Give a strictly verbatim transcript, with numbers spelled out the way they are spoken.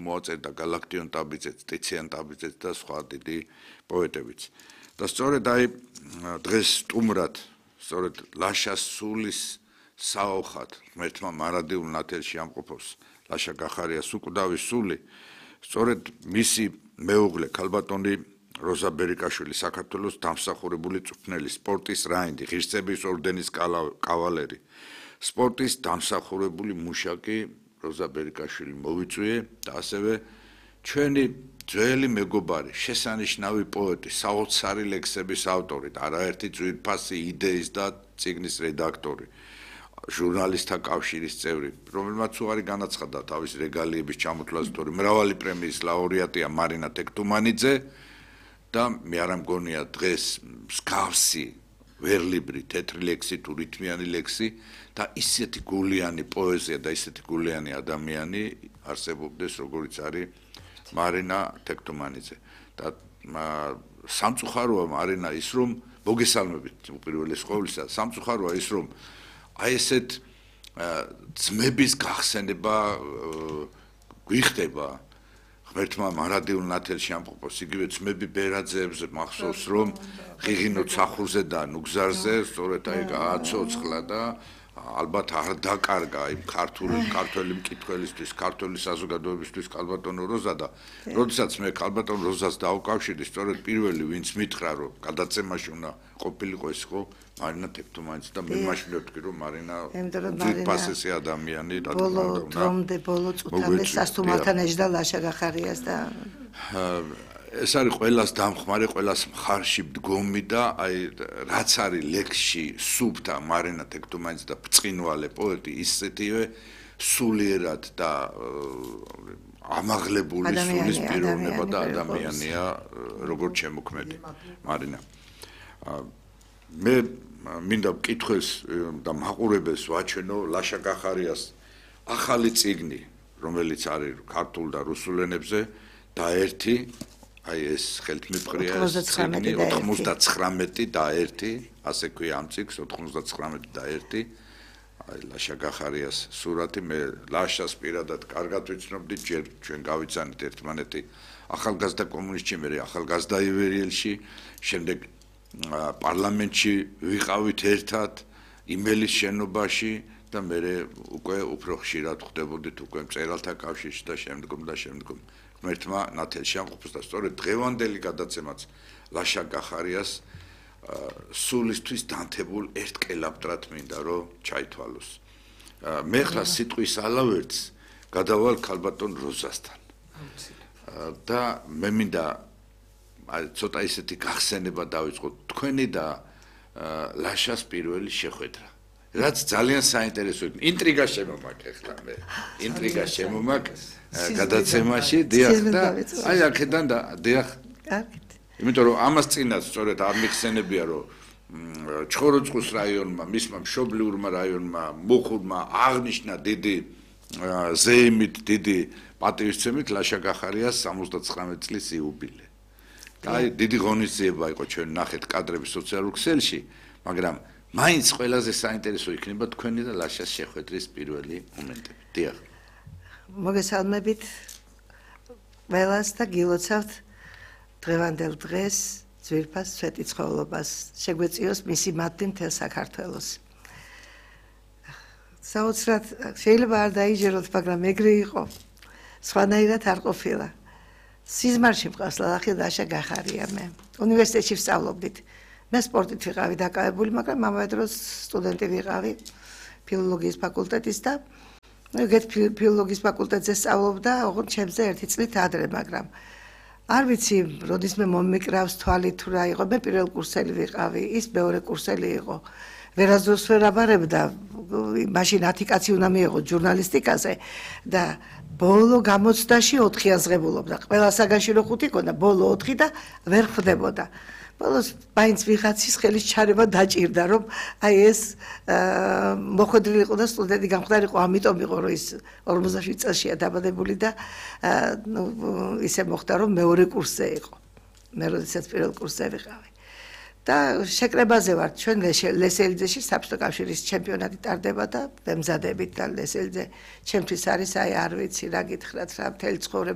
მოაწერდა გალაქტიონ ტაბიძეც, ტიციან ტაბიძეც და სხვა დიდი პოეტებიც. და სწორედ აი დღეს სტუმრად, სწორედ ლაშას სულის საოხად, ღმერთმა მარადიულ ნათელში ამყოფოს ლაშა გახარიას უკვდავი სული, სწორედ მისი მეუღლე ქალბატონი როზა ბერიკაშვილი საქართველოს დამსახურებული წვრთნელი, სპორტის რაინდი, ღირსების ორდენის კავალერი, სპორტის დამსახურებული მუშაკი როზა ბერიკაშვილი მოვიწვიე და ასევე ჩვენი ძველი მეგობარი, შესანიშნავი პოეტი, საოცარი ლექსების ავტორი, არაერთი ძვირფასი იდეის და წიგნის რედაქტორი, ჟურნალისტთა კავშირის წევრი, რომელმაც უარი განაცხადა თავის რეგალიების ჩამოთვლაზე, თორე მრავალი პრემიის ლაურეატია მარინა თექთუმანიძე და მე არ მგონია დღეს მსგავსი ვერლიბრი თეთრი ლექსი თუ რითმიანი ლექსი და ისეთი გულიანი პოეზია და ისეთი გულიანი ადამიანი არსებობდეს როგორიც არის მარინა თექთუმანიძე და სამწუხაროა მარინა ის რომ მოგესალმებით უპირველეს ყოვლისა სამწუხაროა ის რომ აი ესეთ ძმების გახსენება გვიხდება ღმერთმა მარადიულ ნათელში ამყოფოს იგივე ძმები ბერაძეებზე მახსოვს რომ ღიღინო ცახურზე და ნუგზარზე სწორედ აი გააცოცხლა და ალბათ არ დაკარგა იმ ქართული ქართველი მკითხველისთვის ქართული საზოგადოებისთვის ქალბატონო როზა და როდესაც მე ქალბატონ როზას დავკავშირდი სწორედ პირველი ვინც მითხრა რომ გადაცემაში უნდა ყოფილიყო ის ხო მარინა თექთუმანიძე და მე მაშინ ვთქვი რომ მარინა ძვირფასესი ადამიანი და ბოლო დრომდე ბოლო წუთამდე სასტუმროთან ეჯდა ლაშა გახარიას და ეს არის ყველას დამხმარე, ყველას მხარში მდგომი და აი რაც არის ლექსში სუბთა მარინა თექთუმანიძე და ბრწყინვალე პოეტი ისეთივე სულიერად და ამაღლებული სულის პიროვნება და ადამიანია როგორც შემოქმედი მარინა. მე მინდა მკითხველს და მაყურებელს ვაჩვენო ლაშა გახარიას ახალი წიგნი, რომელიც არის ქართულ და რუსულ ენებზე და ერთი აი ეს ხელთმიფრია წიგნი ოცდაცხრამეტი და ერთი, ასე ქვია ამ წიგნს ოცდაცხრამეტი და ერთი, აი ლაშა გახარიას სურათი, მე ლაშას პირადად კარგად ვიცნობდი, ჯერ ჩვენ გავიცანით ერთმანეთი ახალგაზრდა კომუნისტში, მე ახალგაზრდა ივერიელში, შემდეგ პარლამენტში ვიყავით ერთად, იმელის შენობაში და მე უკვე უფრო ხშირად ხვდებოდით უკვე მწერალთა კავშირში და შემდგომ და შემდგომ. ღმერთმა ნათელში ამყოფოს და სწორედ დღევანდელი გადაცემაც ლაშა გახარიას სულისთვის დანთებულ ერთ კელაპტრად მინდა რომ ჩაითვალოს. მე ხლა სიტყვის ალავერტს გადავალ ქალბატონ როზასთან. და მე მინდა ცოტა ისეთი გახსენება დავიწყოთ თქვენი და ლაშას პირველი შეხვედრა. რაც ძალიან საინტერესო იქნება. ინტრიგა შემომაქ ახლა მე. ინტრიგა შემომაქ გადაცემაში დიახ და აი აქედან და დიახ. კარგით. იმიტომ რომ ამას წინაც სწორედ არ მიხსენებია რომ ჩხოროწყუს რაიონმა, მისმა მშობლიურმა რაიონმა, მუხურმა აღნიშნა დიდი ზეიმით, დიდი პატივისცემით ლაშა გახარიას სამოცდაცხრამეტი წლის იუბილე. და აი დიდი ღონისძიება იყო ჩვენ ნახეთ კადრები სოციალურ ქსელში, მაგრამ მაინც ყველაზე საინტერესო იქნება თქვენი და ლაშას შეხვედრის პირველი მომენტები. დიახ. მოგესალმებით ყველას და გილოცავთ დღევანდელ დღეს ძვირფას სვეტიცხოვლობას შეგვეციოს მისი მათი მთელ საქართველოს. საოცრად შეიძლება არ დაიჯეროთ, მაგრამ ეგრე იყო. სხვანაირად არ ყოფილა. სიზმარში მყავს ლალახი ლაშა გახარია მე. უნივერსიტეტში ვსწავლობდით. მე სპორტით ვიყავი დაკავებული, მაგრამ ამავე დროს სტუდენტი ვიყავი ფილოლოგიის ფაკულტეტის და ეგეთ ფილოლოგიის ფაკულტეტზე სწავლობდა, ოღონდ ჩემზე ერთი წლით ადრე, მაგრამ არ ვიცი, როდის მე მომიკრავს თვალი თუ რა იყო, მე პირველ კურსელი ვიყავი, ის მეორე კურსელი იყო. ვერასდროს ვერ აბარებდა, მაშინ ათი კაცი უნდა მიეღო ჟურნალისტიკაზე და ბოლო გამოცდაში ოთხი აზღებულობდა. ყველა საგანში რო ხუთი ქონდა, ბოლო ოთხი და ვერ ხვდებოდა. ბოლოს მაინც ვიღაცის ხელის ჩარევა დაჭირდა, რომ აი ეს მოხვედრილიყო და სტუდენტი გამხდარიყო, ამიტომ იყო რომ ის ორმოცდაშვიდი წელშია დაბადებული და ისე მოხდა, რომ მეორე კურსზე იყო. მე როდესაც პირველ კურსზე ვიყავი. და შეკრებაზე ვარ, ჩვენ ლესელიძეში საბჭოთა კავშირის ჩემპიონატი ტარდება და ვემზადებით და ლესელიძე ჩემთვის არის, აი არ ვიცი რა გითხრათ, რა მთელი ცხოვრება